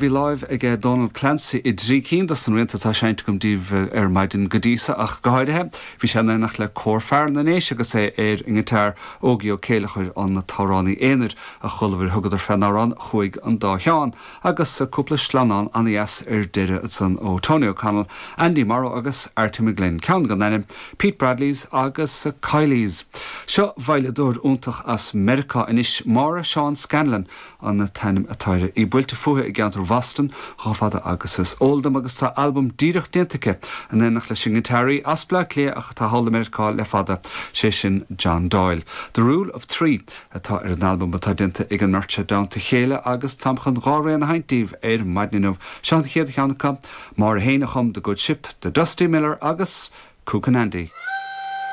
Bhí láimh aige Dónal Clancy i dtrí cinn dos na rianta atá seinnte agam daoibh ar maidin go dtí so ach go háirithe. Bhí sé in éineacht le Cór Fear na nDéise agus é ar an ngiotár, Ógie Ó Céilleachair an t-amhránaí aonair a chualamar. Thugadar fén amhrán 'Chuaigh an Dá Sheán' agus cúpla sleamhnán ana-dheas ar deireadh ansan ó Tony O'Connell, Andy Morrow agus Arty McGlynn, ceann gan ainm, Pete Bradley's agus Kiely's. Seo veidhleadóir iontach as Meiriceá anois, Máire Seán Scanlon, an t-ainm atá uirthi. Í buailte fúithi i gceantar Bhoston chomh fada agus is eol dom agus tá albam díreach déanta aici in éineacht leis an ngiotáraí as Bleá Cliath ach atá thall i Meiriceá le fada, sé sin John Doyle. The Rule of Three atá ar an albam atá déanta ag an mbeirt seo i dteannta a chéile agus táim chun dhá rian a sheinnt daoibh ar maidin inniu. Seo an chéad cheann acu, Máire féin a chum The Good Ship, The Dusty Miller agus Cookin' Andy.